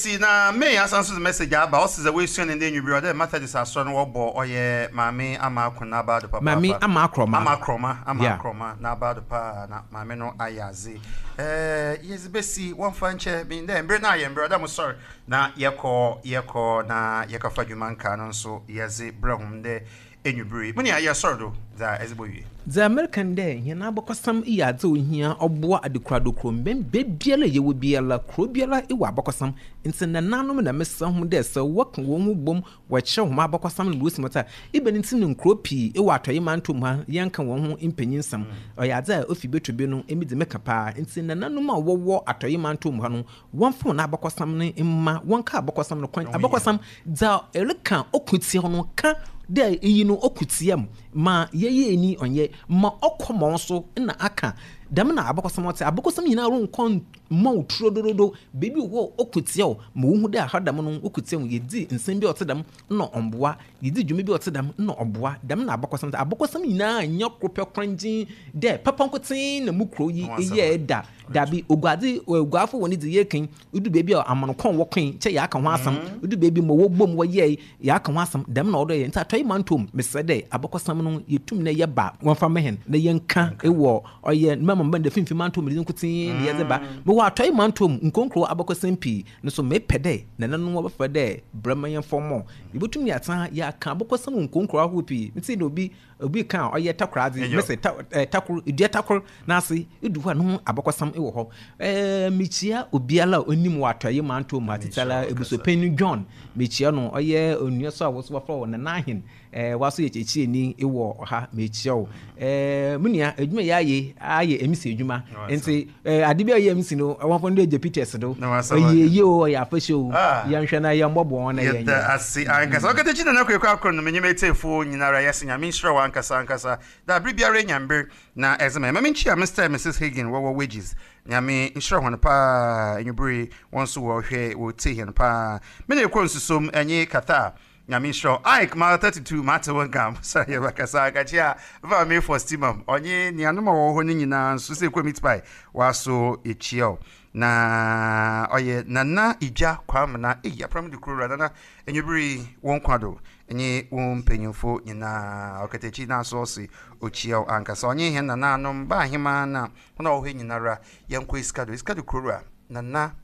besi na May asan so dze message aba, ɔse dza oesua no ndɛ ewimbir ɔdɛ Methodist asɔr no wɔbɔ ɔyɛ Maame Ama Ako n'aba do papaapa. Maame Ama Akrɔma. Ama Akrɔma, Ama Yeah. Akrɔma n'aba do paa na maame no ayɛ adze. Eh, yɛdze besi, wɔmfa nkyɛ me ndɛ mber no ayɛ mber ɔdɛ mosoɛr na yɛkɔ yɛkɔ na yɛkɔfa dwuma nkaa no nso yɛdze brɛ hom ndɛ Ewimbir yi, mo nua, yɛsɔr do dza edze bowie. Dza mereka nye dɛ, hɛn abakɔsɛm yɛ adze a ohia, ɔboa adekoradokor mbɛn beebiara a yɛwɔ biara, kurow biara wɔ abakɔsɛm. Ntsi nananom na meserɛ hom dɛ sɛ wɔka hɔnho bɔ mu wɔkyerɛw hɔn abakɔsɛm no ma osi mu a, ebɛn ntsi na nkurow pii wɔ Atɔe Mantɔw mu ha yɛnnka hɔnho mpanyinsɛm? Ɔyɛ adze a ofi betɔ bi no, emi dze meka paa. Ntsi nananom a wɔwɔ Atɔe Mantɔw mu ha no, Wɔmfa hɔn abakɔsɛm no mma, wɔnka abakɔsɛm no kwan, abakɔsɛm, dza ereka ɔkõ tsia no, kã dɛ iyi no ɔkõ tsia m', ma yɛyɛɛ ni ɔnnyɛ, ma ɔkɔ ma wo so na akã. Dɛm na abakɔsɛm ɔtse. Abakɔsɛm nyina ronnkɔ mma wo turodorodo. Beebi wɔ hɔ a ɔkõ tsia wo, ma wohu dɛ ha dɛm no ɔkõ tsia wo. Yedzi nsɛm bi a ɔtse dɛm nna ɔmmboa, yedzi dwuma bi a ɔtse dɛm nna ɔboa. Dɛm na abakɔsɛm tse. Abakɔsɛm nyina nnyɛ kor pɛ korangyee dɛ papa nkotsee na mo kurow yi yɛe da. Dabi, oguadze, oguafo hɔn dze yɛkã yi, odu beebi a aman kɔn wɔkõe, nkyɛ yɛakã ho asɛm, odu beebi ma wɔbɔ mu wɔyɛe, yɛakã ho asɛm, dɛm na ɔwɔ dɛ ɔyɛ. Ntsi Atɔe Mantɔw mu, meserɛ dɛ abakɔsɛm no yetum na yɛba wɔmfa mma hɛn na yɛnkã wɔ ɔyɛ mma mma ndɛ Finimfin Mantɔw mu dze nkotsee na yɛdze ba. Mowɔ Atɔe Mantɔw mu nkurow nkurow abakɔsɛm pii, no so mepɛ dɛ nananom wɔbɛfrɛ dɛ bra ma yɛmfa mbɔ. Yebotum yɛatse ha yɛakã abakɔsɛm wɔ nkurow nkurow ahorow pii. Metsee dɛ obi Obi ka a ɔyɛ takor adze, mese ta eh, takor, dua takor n'ase, edu hɔ a no ho abakɔsɛm wɔ hɔ. Eh, mekyia obiara a onim wɔ Atɔe Mantɔw mu ha, tsitsir ebusuapanyin John, mekyia no, ɔyɛ onua so a wo so wɔfrɛ wo Nana Ahen, eh, woaso yɛ kyerɛkyerɛni wɔ ha, mekyia wo. Eh, mo nua, edwuma yi ayɛ ayɛ MC edwuma, ntsi eh, ade bi a ɔyɛ MC no, wɔmfa no Agya Peters do, ɔyɛ yie o, ɔyɛ afahyɛ o, yɛnhwɛ na yɛmbɔboa hɔn na yɛnyɛ. Yɛda ase ankasa. Ɔkatakyie Nana Kwaku Akron no menye m'etsiefo nyinara yɛse Nyame nhyira wo ankasa ankasa dɛ aber biara enya mber na edze ma hɛn. Ma menkyia Mister and Missus Higgin wɔwɔ Wages. Nyame nhyira hɔn paa ewiber yi hɔn so wɔhwɛ wɔtsie hɛn paa. Me na ekɔ nsusom nye Qatar. Nyame nhyira wo. Ike mile 32 mate wo nka sɛ yɛbɛkasa ankakyia me maame Faustima ɔnye nuanom a wɔwɔ hɔ no nyinaa nso sɛ ekɔ meat pie waso yɛkyia wo. Na ɔyɛ Nana Igya Kwamena ei apram de kuro wura Nana anwummere yi wo nkwa do nye wo mpanyimfo nyinaa ɔkatakyi na aso ɔse okyia wo ankasa ɔnye hɛn nananom ba ahemaa na hɔn a wɔwɔ hɔ nyinara yɛnkɔ Esikado Esikado kuro wura Nana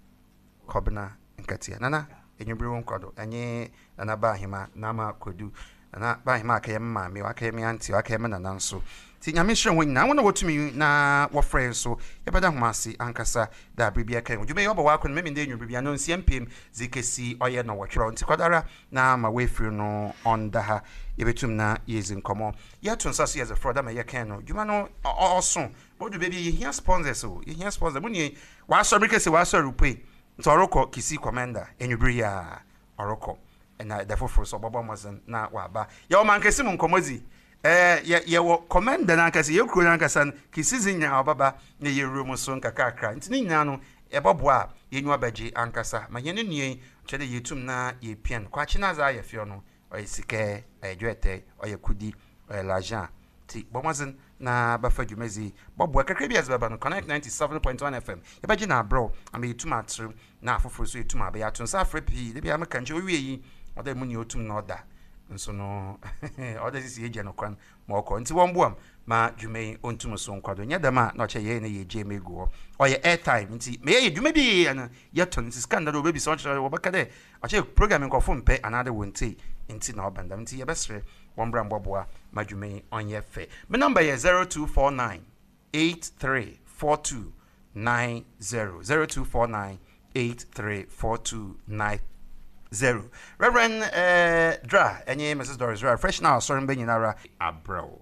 Kɔbena Nkatia Nana anwummere wo nkwa do nye Nana ba ahema Nama Kwadu Nana ba ahema akɛyɛ me maame wakɛyɛ me auntie wakɛyɛ me nana nso nti Nyame nhyira wɔn nyinaa wɔn a wɔtumi na wɔfrɛ nso yɛbɛda ho ase ankasa da bere bi ɛka ho dwuma yi ɔbɔ w'akɔ no mɛmi ndɛ nwumere bi ano nsia mpem dze kɛsi ɔyɛ no wɔtwerɛ nti kɔdara na ma wɔafiri no ɔnda ha yɛbɛtum na yɛdzi nkɔmmɔ yɛto nsa so yɛdze frɔ da ma yɛkɛn no dwuma no ɔso bɔdu baabi yɛhia sponsors o yɛhia sponsors mo nie wɔasɔre kɛse wɔasɔre pue nti ɔrekɔ kisi commander enwubere yi a ɔrokɔ, na da fofor so ɔbɔbɔ mbɔdzen na ɔaba. Yɛwɔ mankɛse mu nkɔmbɔdzi, ɛɛ, yɛ yɛwɔ kɔmɛnda nankasa, yɛn kurow nankasa no, Kisizi nyina ɔbɛba na yewura mu so nkakrakra. Ntsi ne nyina no, yɛbɔboa a, y'enyiwa bɛgye ankasa ma hɛn nua yi, ɔkyerɛ dɛ yeetum na yeepia no. Kwakye n'adze ayɛ fɛw no, ɔyɛ sika, ɔyɛ dwɛɛtɛɛ, ɔyɛ kudi, ɔyɛ l'agent. Ntsi bɔ mbɔdzen na bɛfa dwumadzi yi, bɔboa kakra bi a edze bɛba no, Connect 97.1 FM, yɛbɛgye no aberɛw ama yeetum atserew na afofor so etum abɛyɛ ato nsa afrɛ pii. Da biara meka nkyɛ owie yi, ɔdɛ mu nea otum na ɔda nso no ɔdɛ sisi yɛgya no kwan ma ɔkɔ. Ntsi wɔmboa m ma dwuma yi ontum so nkɔ do. Nnyɛ dɛm a na ɔkyerɛ yɛyɛ na yɛgyaa mu egu hɔ. Ɔyɛ airtime ntsi ma yɛyɛ dwuma bi yɛyɛ no yɛtɔ no ntsi sika nnda do wɔbɛbisa ɔkyerɛ wɔbɛka dɛ ɔkyerɛ program nkorɔfo mmpɛ anaadɛ wonntsie ntsi na ɔba no dɛm ntsi yɛbɛserɛ wɔmbra mbɔboa ma dwuma yi ɔnyɛ fɛ. Me number yɛ 0249 8342 90 0249 834290 Reverend eh, Dra ɛnye Mrs. Doris Dra fresh na asɔre mba nyinara abrɛw.